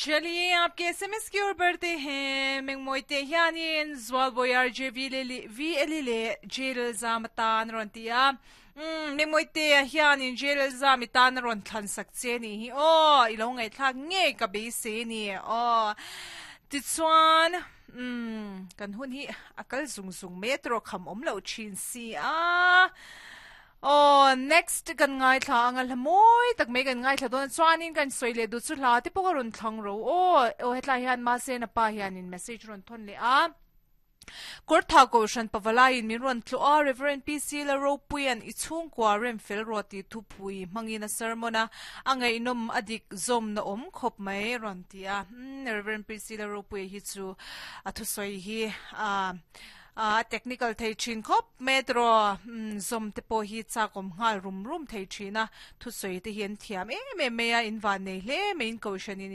चलिए आपके एसएमएस की ओर बढ़ते हैं mengmoite hianin zualboyar jv le v le jail zamatan ron tia mengmoite hianin jail zamitan ron thlan sak che ni hi o ilo ngai thlak nge ka be se ni o ti chuan kan hun hi akal zung zung metro kham om lo thin si a. Aw next kan ngaithla anga hla mawi tak mai kan ngaithla dawn a chuanin kan sawi leh duh chu hla te pawh a rawn thlang ro aw aw hetlai hian mahse na pa hianin message rawn thawn leh a Kawrtha Kohhran Pavalaiin min rawn tlawh a Reverend PC Lalropuia'n i chhungkua rem fel rawh tih thupui hmangin a sermon a a ngaihnawm a dik zawmna awm khawp mai rawn ti a Reverend PC Lalropuia hi chu a thusawi hi a A technical thei thin khawp mai tiraw zawm te pawh hi chak awm nghal rum rum thei thin a, thusawi te hi an thiam em em mai a, in van nei hle mai in kohhran in.